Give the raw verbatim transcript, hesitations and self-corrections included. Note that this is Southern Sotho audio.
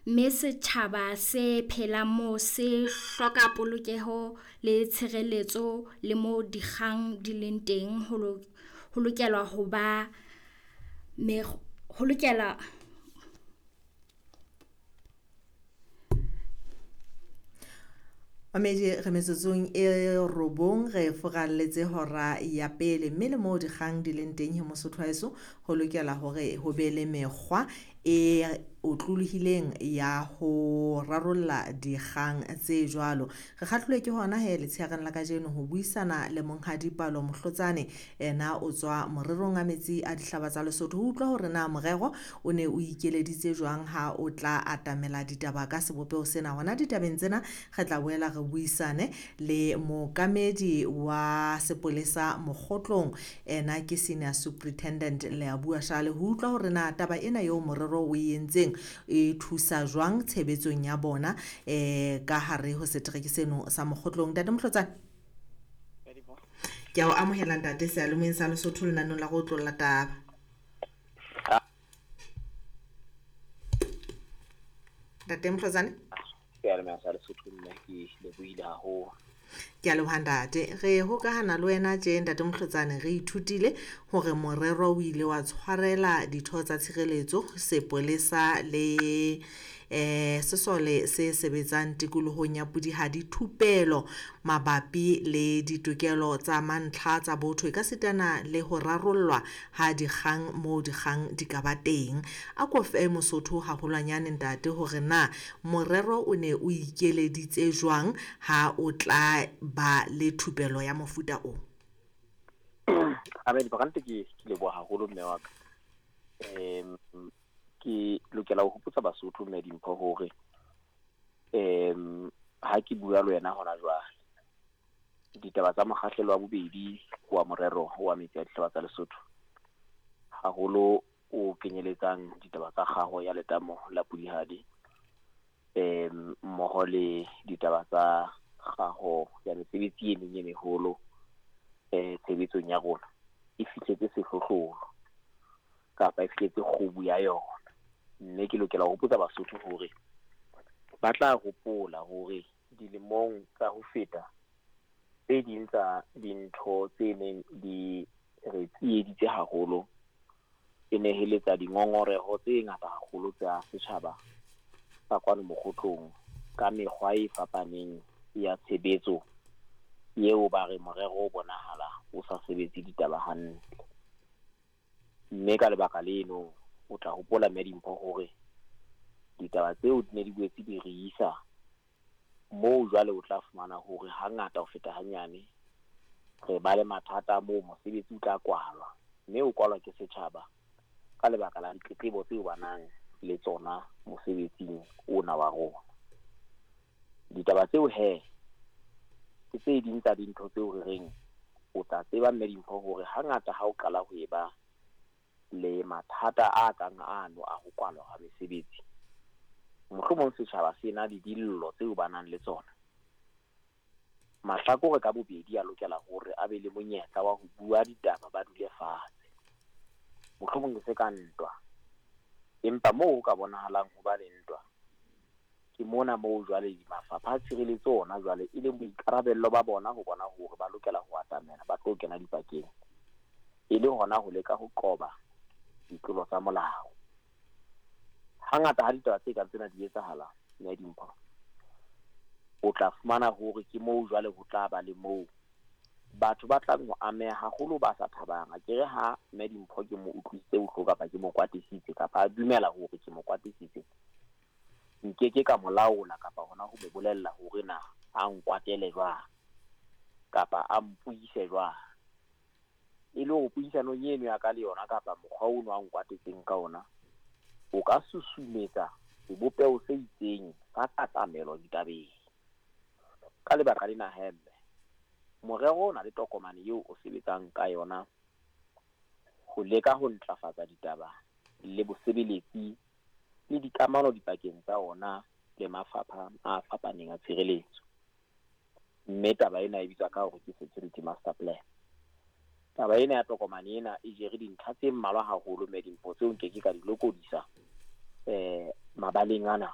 Mme setjhaba se phelang moo se hloka polokeho le tshireletso le mo dikgang di leng teng ho ho lokela ho ba ho lokela. Mamedi re metsotsong e robong re furalletse hora ya pele, mme le moo dikgang di leng teng he Mosotho wa heso, ho lokela hore ho be le mekgwa e otlolohileng ya ho rarolla dikgang tse jwalo. Re kgahlilwe ke hona he letshehareng la kajeno ho buisana le Monghadi Palo Mohlotsane, ena o tswa morerong a metsi a dihlaba tsa Lesotho, ho utlwa hore na morero o ne o ikeleditse jwang ha o tla atamela ditaba ka sebopeho sena. Hona ditabeng tsena re tla boela re buisane le mookamedi wa sepolesa Mokgotlong, ena ke Senior Superintendent Leabua Shale, ho utlwa hore na taba ena eo morero o e entseng e thusa jwang tshebetsong ya bona eh ka hare ho setereke seno sa Mokgotlong. Ntate Mohlotsane, ke a o amohela ntate seyalemoyeng sa Lesotho lenaneng la go otlolla taba. Ntate Mohlotsane, seyalemoyeng sa Lesotho, nna ke lebohile haholo. Ke a leboha ntate. Re hokahana le wena tje ntate Mohlotsane, re ithutile hore morero o ile wa tshwarela ditho tsa tshireletso, sepolesa le eh sesole se sebetsang tikolohong ya Pudihadi thupelo mabapi le ditokelo tsa mantlha tsa botho e ka sitana le ho rarollwa ha dikgang moo dikgang di ka ba teng. A ko fe Mosotho haholwanyane ntate hore na morero o ne o ikeleditse jwang ha o tla ba le thupelo ya mofuta o? Amen, ke ke leboha haholo mme wa ka. Em ke lokela ho hopotsa Basotho mme Dimpho hore em ha ke bua le wena hona jwale, ditaba tsa mokgahlelo wa bobedi wa morero wa metsi a dihlaba tsa Lesotho, haholo o kenyeletsang ditaba tsa kgaho ya letamo la Pudihadi, em mmoho le ditaba tsa kgaho ya mesebetsi e meng e meholo eh tshebetsong ya rona, e fihletse sehlohlolo kapa e fihletse kgubu ya yona. Mme ke lokela ho hopotsa Basotho hore ba tla hopola hore dilemong tsa ho feta tse ding tsa dintho tse neng di re tsieditse haholo e neheletsa dingongoreho tse ngata haholo tsa setjhaba sa kwano Mokgotlong ka mekgwa e fapaneng ya tshebetso eo ba re morero o bonahala o sa sebetse ditaba hantle. Mme ka lebaka leno o tla hopola mme Dimpho hore ditaba tseo di ne di boetse di re isa moo jwale o tla fumana hore hangata ho feta hanyane re ba le mathata moo mosebetsi o tla kwalwa, mme o kwalwa ke setjhaba ka lebaka la ditletlebo tseo ba nang le tsona mosebetsing ona wa rona. Ditaba tseo he ke tse ding tsa dintho tseo re reng o tla tseba mme Dimpho hore hangata ha o qala ho eba le mathata a kang ano a ho kwalwa ha mesebetsi, mohlomong setjhaba se na le dillo tseo ba nang le tsona. Mahlakore ka bobedi a lokela hore a be le monyetla wa ho bua ditaba, ba dule fatshe, mohlomong e se ka ntwa, empa moo ho ka bonahalang ho ba le ntwa ke mona moo jwale mafapha a tshireletso ona jwale e leng boikarabello ba bona ho bona hore ba lokela ho atamela ba tlo kena dipakeng, e le hona ho leka ho qoba ditlolo tsa molao. Hangata ha ditaba tse kang tsena di etsahala mme Dimpho, o tla fumana hore ke moo jwale ho tla ba le moo batho ba tlang ho ameha haholo ba sa thabang. Akere ha mme Dimpho ke mo utlwisitse bohloko kapa ke mo kwatisitse kapa a dumela hore ke mo kwatisitse, nkeke ka mo laola kapa hona ho mo bolella hore na a nkwatele jwang kapa a mpuise jwang. E le hore puisanong eno ya ka le yona kapa mokgwa ono a nkwatetseng ka ona o ka susumetsa sebopeho se itseng sa katamelo ditabeng. Ka lebaka lena he mme, morero o na le tokomane eo o sebetsang ka yona ho leka ho ntlafatsa ditaba le bosebeletsi le dikamano dipakeng tsa ona le mafapha a fapaneng a tshireletso. Mme taba ena e bitswa ka hore ke Security Master Plan. Taba ena ya tokomane ena e jere dintlha tse mmalwa haholo mme Dimpho tseo nke ke ka di lokodisa eh mabaleng ana.